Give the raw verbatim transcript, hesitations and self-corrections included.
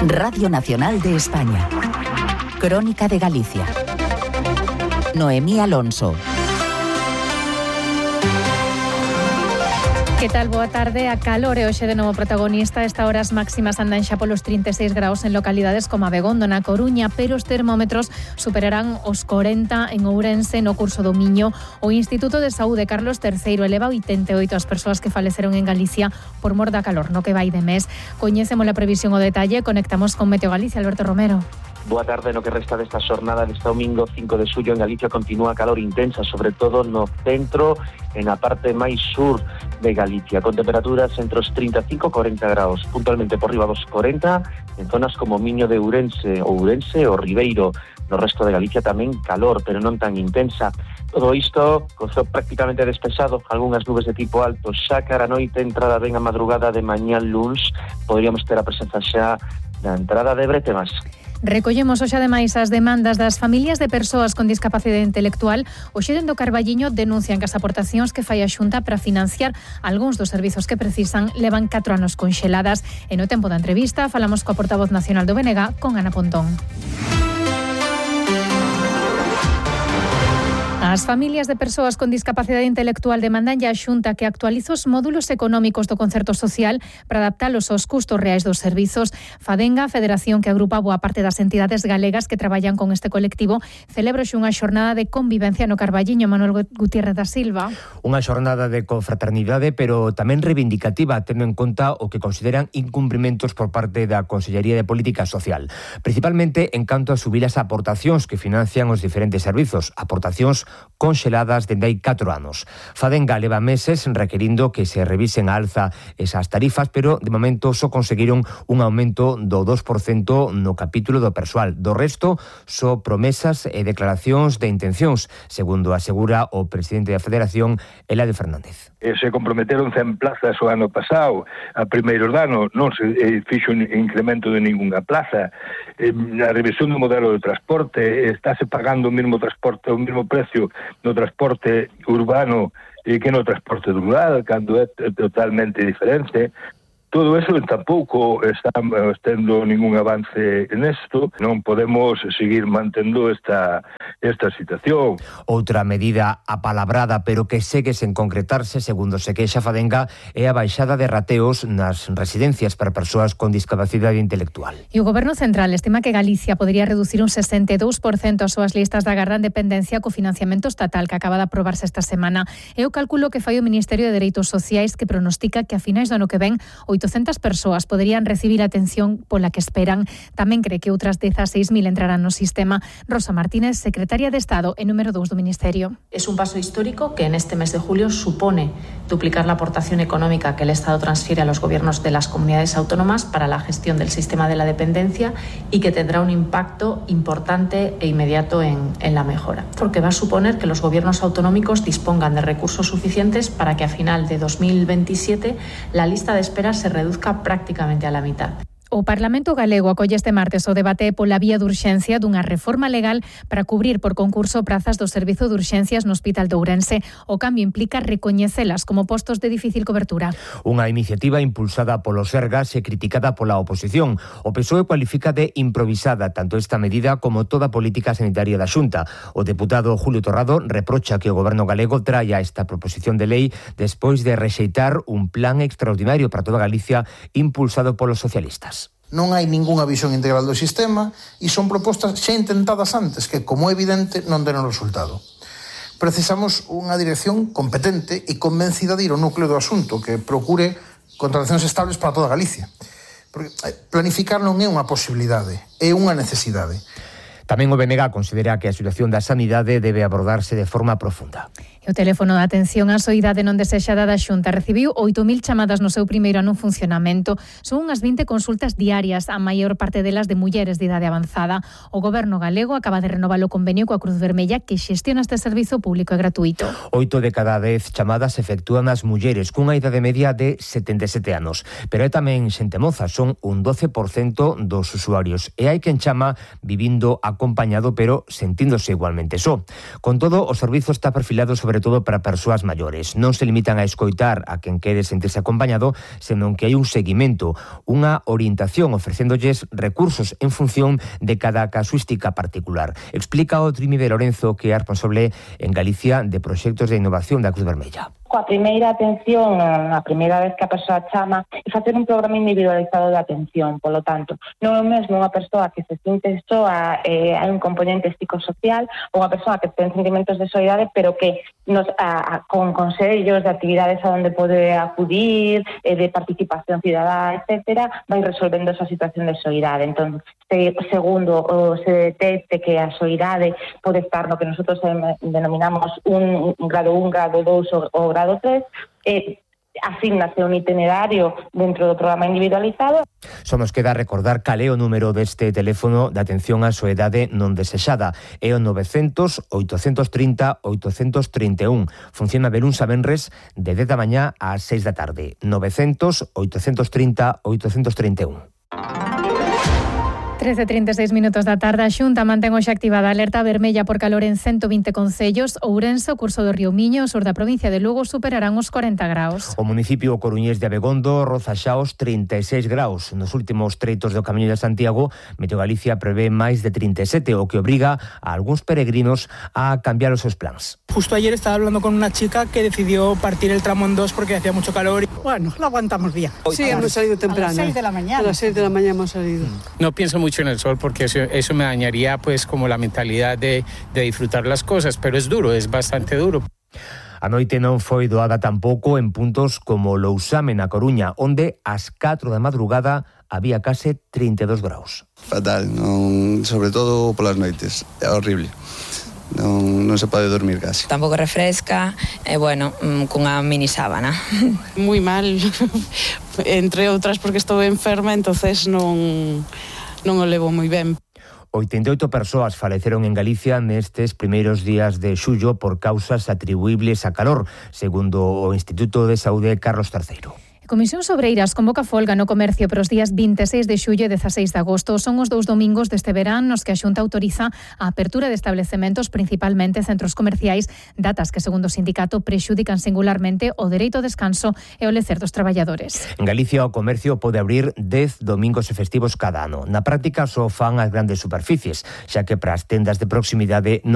Radio Nacional de España. Crónica de Galicia. Noemí Alonso. Que tal? Boa tarde. A calor é hoxe de novo protagonista. Esta horas máximas andan xa polos trinta e seis graus en localidades como Abegondo, na Coruña, pero os termómetros superarán os corenta en Ourense no curso do Miño. O Instituto de Saúde Carlos terceiro eleva oitenta e oito as persoas que faleceron en Galicia por mor da calor no que vai de mes. Coñecemos a previsión o detalle. Conectamos con Meteo Galicia. Alberto Romero. Boa tarde. No que resta desta xornada deste domingo cinco de xullo en Galicia continúa a calor intensa, sobre todo no centro e na parte máis sur de Galicia, con temperaturas entre os trinta e cinco e corenta graus, puntualmente por riba dos corenta en zonas como Miño de Ourense, Ourense ou Ribeiro. No resto de Galicia tamén calor, pero non tan intensa. Todo isto co ceo prácticamente despexado, algunhas nubes de tipo alto, xa cara a noite, entrada ben a madrugada de mañán luns, poderíamos ter a presenza xa da entrada de bretemas. Recollemos hoxe ademais as demandas das familias de persoas con discapacidade intelectual. Hoxe dende o Carballiño denuncian que as aportacións que fai a Xunta para financiar algúns dos servizos que precisan levan catro anos conxeladas. E no tempo da entrevista falamos coa portavoz nacional do B N G, con Ana Pontón. As familias de persoas con discapacidade intelectual demandan a Xunta que actualice os módulos económicos do concerto social para adaptalos aos custos reais dos servizos. Fadenga, a federación que agrupa boa parte das entidades galegas que traballan con este colectivo, celebra hoxe unha xornada de convivencia no Carballiño. Manuel Gutiérrez da Silva. Unha xornada de confraternidade, pero tamén reivindicativa, tendo en conta o que consideran incumprimentos por parte da Consellería de Política Social, principalmente en canto a subir as aportacións que financian os diferentes servizos, aportacións conxeladas dende hai catro anos. Fadenga leva meses requerindo que se revisen a alza esas tarifas, pero de momento só conseguiron un aumento do dos por cento no capítulo do persoal. Do resto, só promesas e declaracións de intencións, segundo asegura o presidente da Federación, Eladio Fernández. Se comprometeron cen plazas o ano pasado, a primeiros ano non se fixo un incremento de ninguna plaza. A revisión do modelo de transporte, estáse pagando o mesmo transporte, o mesmo precio no transporte urbano que no transporte rural, cando é totalmente diferente. Todo eso tampouco está tendo ningún avance nesto. Non podemos seguir mantendo esta esta situación. Outra medida apalabrada, pero que segue sen concretarse, segundo se queixa Fadenga, é a baixada de rateos nas residencias para persoas con discapacidade intelectual. E o Goberno Central estima que Galicia podría reducir un sesenta e dous por cento as súas listas de agarda en dependencia co financiamento estatal que acaba de aprobarse esta semana. É o cálculo que fai o Ministerio de Dereitos Sociais, que pronostica que a finais do ano que ven oitocentas persoas poderían recibir a atención pola que esperan. Tamén cree que outras dezaseis mil entrarán no sistema. Rosa Martínez, secretaria de Estado e número dous do Ministerio. Es un paso histórico que en este mes de julio supone duplicar la aportación económica que el Estado transfiere a los gobiernos de las comunidades autónomas para la gestión del sistema de la dependencia y que tendrá un impacto importante e inmediato en, en la mejora, porque va a suponer que los gobiernos autonómicos dispongan de recursos suficientes para que a final de dos mil veintisiete la lista de espera se reduzca prácticamente a la mitad. O Parlamento galego acolle este martes o debate pola vía de urxencia dunha reforma legal para cubrir por concurso prazas do Servizo de Urxencias no Hospital de Ourense. O cambio implica recoñecelas como postos de difícil cobertura. Unha iniciativa impulsada polo Sergas e criticada pola oposición. O P S O E cualifica de improvisada tanto esta medida como toda a política sanitaria da Xunta. O deputado Julio Torrado reprocha que o Goberno galego traia esta proposición de lei despois de rexeitar un plan extraordinario para toda Galicia impulsado polos socialistas. Non hai ningunha visión integral do sistema e son propostas xa intentadas antes que, como é evidente, non deron resultado. Precisamos unha dirección competente e convencida de ir ao núcleo do asunto que procure contratacións estables para toda Galicia. Porque planificar non é unha posibilidade, é unha necesidade. Tamén o B N G considera que a situación da sanidade debe abordarse de forma profunda. E o teléfono de atención á soidade non desexada da Xunta recibiu oito mil chamadas no seu primeiro ano en funcionamento. Son unhas vinte consultas diarias, a maior parte delas de mulleres de idade avanzada. O Goberno galego acaba de renovar o convenio coa Cruz Vermella que xestiona este servizo público e gratuito. Oito de cada dez chamadas efectúan as mulleres cunha idade media de setenta e sete anos. Pero é tamén xente moza, son un doce por cento dos usuarios. E hai quen chama vivindo acompañado pero sentíndose igualmente só. Con todo, o servizo está perfilado sobre sobre todo para persoas maiores. Non se limitan a escoitar a quen quere sentirse acompañado, senón que hai un seguimento, unha orientación ofrecéndolles recursos en función de cada casuística particular. Explica o Trimi de Lorenzo, que é responsable en Galicia de proxectos de innovación da Cruz Vermella. Coa primeira atención, a primeira vez que a persoa chama, e facer un programa individualizado de atención. Polo tanto, non é o mesmo unha persoa que se sinte soa, eh, hai un componente psicosocial, ou unha persoa que ten sentimentos de soidade, pero que nos, a, a, con consellos de actividades a onde pode acudir, eh, de participación cidadá, etcétera, vai resolvendo esa situación de soidade. Entón, se, segundo, o se detecte que a soidade pode estar no que nosotros denominamos un, un grado un, grado dous ou, ou grado tres, eh, asignase un itinerario dentro do programa individualizado. Só nos queda recordar cal é o número deste teléfono de atención á soidade non desexada. É o novecientos, oitocentos trinta, oitocentos trinta e un. Funciona de luns a venres de dez da mañá ás seis da tarde. novecientos, oitocentos trinta, oitocentos trinta e un. trece e trinta e seis minutos da tarde, a Xunta mantén hoxe activada a alerta vermella por calor en ciento vinte concellos. Ourense, o curso do río Miño, o sur da provincia de Lugo, superarán os corenta graus. O municipio coruñés de Abegondo roza xa os trinta e seis graus. Nos últimos treitos do Camiño de Santiago, Meteo Galicia prevé máis de trinta e sete, o que obriga a algúns peregrinos a cambiar os seus plans. Justo ayer estaba hablando con una chica que decidió partir el tramo en dos porque hacía mucho calor. Bueno, lo aguantamos bien. Sí, hemos salido temprano. A las seis de la mañana. A las seis de la mañana hemos salido. No pienso mucho en el sol porque eso, eso me dañaría pues como la mentalidad de, de disfrutar las cosas, pero es duro, es bastante duro. A noite non foi doada tampouco en puntos como Lousame na Coruña, onde ás catro da madrugada había case trinta e dos graus. Fatal, non, sobre todo polas noites, é horrible. Non, non se pode dormir casi. Tampouco refresca, e bueno, cunha mini sábana. Moi mal, entre outras porque estou enferma, entonces non, non o levo moi ben. oitenta e oito persoas faleceron en Galicia nestes primeiros días de xullo por causas atribuíbles a calor, segundo o Instituto de Saúde Carlos terceiro. A Comisión Sobreiras convoca folga no comercio para os días vinte e seis de xullo e dezaseis de agosto. Son os dous domingos deste verán nos que a Xunta autoriza a apertura de establecementos, principalmente centros comerciais, datas que, segundo o sindicato, prexudican singularmente o dereito ao descanso e o lecer dos traballadores. En Galicia o comercio pode abrir dez domingos e festivos cada ano. Na práctica só fan as grandes superficies, xa que para as tendas de proximidade non